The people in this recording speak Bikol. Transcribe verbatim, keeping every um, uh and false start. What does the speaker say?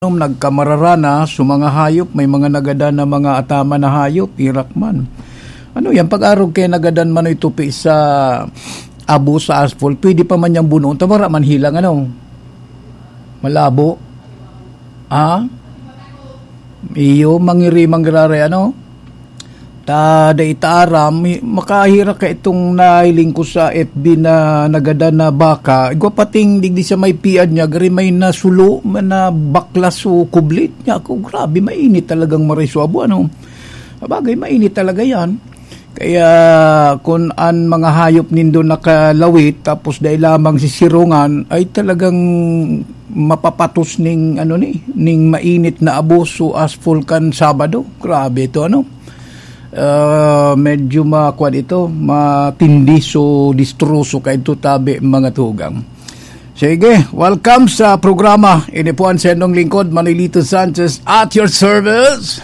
Nagkamararana sa mga hayop, may mga nagadan na mga ataman na hayop, irak man. Ano yan, pag-arog kay nagadan man itupi sa abo sa asphalt, pwede pa man niyang bunuon. Tamara man hilang, ano? Malabo. Ha? Iyo, mangiri, manggirare, ano? Ta, dai ta aram, mi-, makahira ka itong nahiling ko sa F B na nagadan na baka. Igwa pating digdi sa may piad niya, gari may nasulo, na baklas o kublit niya. Ako, grabe, mainit talagang maray sa abo, ano? Sabagay, mainit talaga yan. Kaya, kung an mga hayop nindo nakalawit, tapos dai lamang sisirungan, ay talagang mapapatos ning, ano ni, ning mainit na abo sa asphalt kan Sabado. Grabe ito, ano? Ah, medyo makuan ito, matindi so distroso kay ito tabi, mga tugang. Sige, welcome sa programa. Ini po ang sendong lingkod, Manolito Sanchez, at your service.